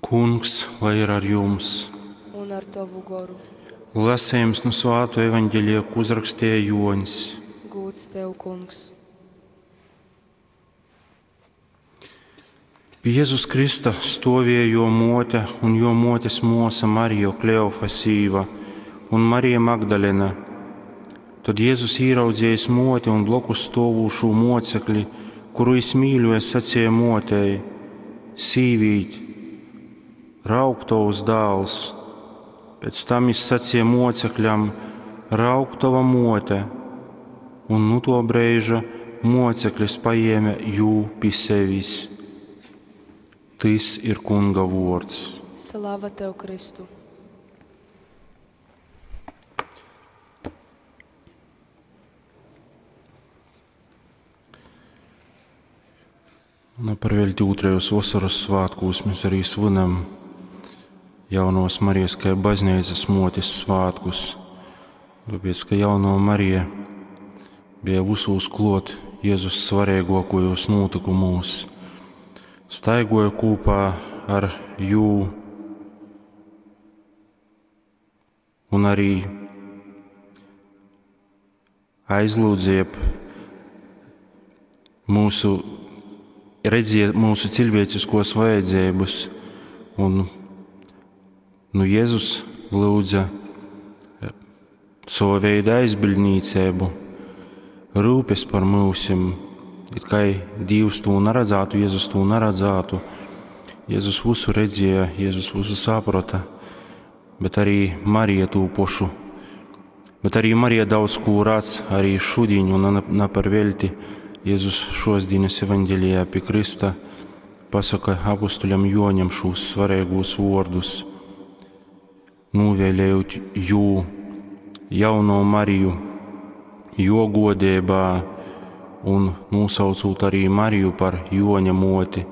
Kungs, lai ir ar jums! Un ar tovu goru. Lasījums no Svāto evaņģēlija, ko uzrakstīja Joņs. Gūds tev, kungs! Pie Jēzus Krista stāvēja jo mote un jo motes mosa Marija Kleofa sīva un Marija Magdalena. Tad Jēzus īraudzījis moti un blokus stāvošo mocekli, kuru jis mīļoja, sacīja motei: Sīvīt, raug tovs dēls! Pēc tam jis sacīja mocekļam: Raug tova mote! Un nu to brīža moceklis paēma jū pie sevis. Tys ir Kunga vārds. Slava tev, Kristu! Nu, par velti otrajos vasaras svētkos mēs arī svinam jaunos Marijas kā baznīcas motes svētkus. Tāpēc, ka jauno Marija bija visos klot Jēzus svarīgākajos notikumos, staigoja kopā ar jū un arī aizlūdzīja mūsu, redzēja mūsu cilvēciskos vajadzības. Un nu, Jēzus lūdza savu veidu aizbildnīcību, rūpes par mūsim. It kā Dievs to neredzētu, Jēzus to neredzētu. Jēzus visu redzēja, Jēzus visu saprata, bet arī Marija to pašu. Bet arī Marija daudz ko redz, arī šodien, un ne par velti. Jēzus šos dienas evaņģēlijā pie Krista pasaka apustuļam Joņam šos svarīgos vārdus, novēlējot jū jauno Mariju, jo godībā un nosaucot arī Mariju par Joņa moti.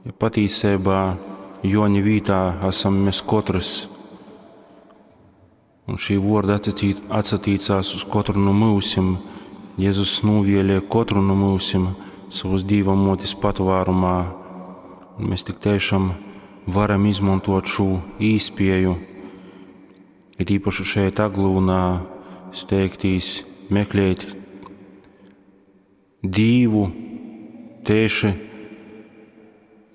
Ja patīsībā Joņa vītā esam mēs katrs. Un šī vārda atsatīcās uz katru no mūsim. Jēzus novēlēja katru no mūsim savas Dieva motes patvērumā. Un mēs tik tiešām varam izmantot šo īspēju, it īpaši šeit Aglūnā, steigtīs meklēt Dievu tieši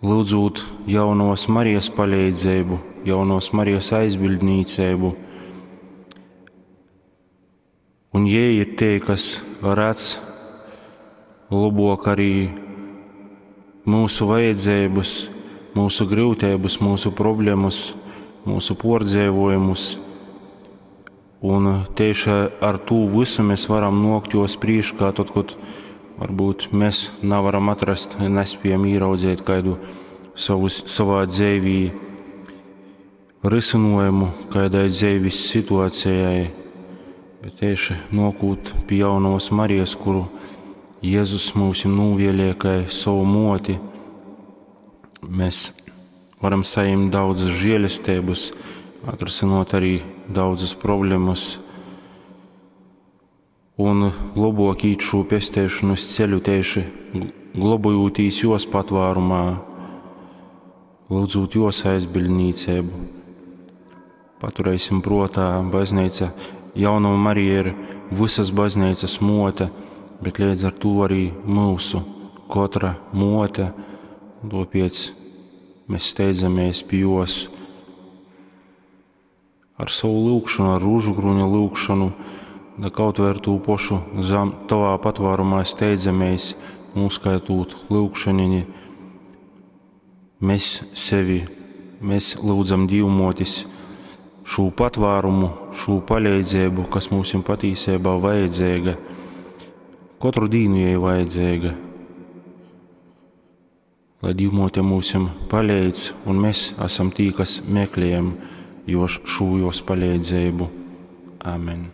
lūdzot jaunos Marijas palīdzību, jaunos Marijas aizbildnīcību. Un jie ir tie, kas redz labāk arī mūsu vajadzības, mūsu grūtības, mūsu problēmas, mūsu pordzēvojumus. Un tieši ar to visu mēs varam nokt jos priekšā, tad, kad varbūt mēs nevaram atrast, nespējam ieraudzīt kādu savus, savā dzīvī risinājumu kādai dzīves situācijai, bet tieši nokūt pie jaunos Marijas, kuru Jēzus mums novēlēja kā savu moti, mēs varam saņemt daudzas žēlestības, atrisinot arī daudzas problēmas un labāk īt šo pestēšanas ceļu tieši glabājotīs jos patvērumā, lūdzot jos aizbildnīcību. Paturēsim prātā, baznīca, jauno Marija ir visas baznīcas mote, bet līdz ar to arī mūsu katra mote, tāpēc mēs steidzamies pie jos ar savu lūgšanu, ar rūžu kruņa lūgšanu, da kaut vai ar to pašu zem tavā patvērumā steidzamies, noskaitot lūgšaniņi, mēs sevi, mēs lūdzam Dievmotis šo patvērumu, šo palīdzību, kas mums ir patīsībā vajadzīga. Katru dienu jai vajadzīga. Lai Dievmote mums palīdz, un mēs esam tī, kas meklējam jo šo jos palīdzību. Amen.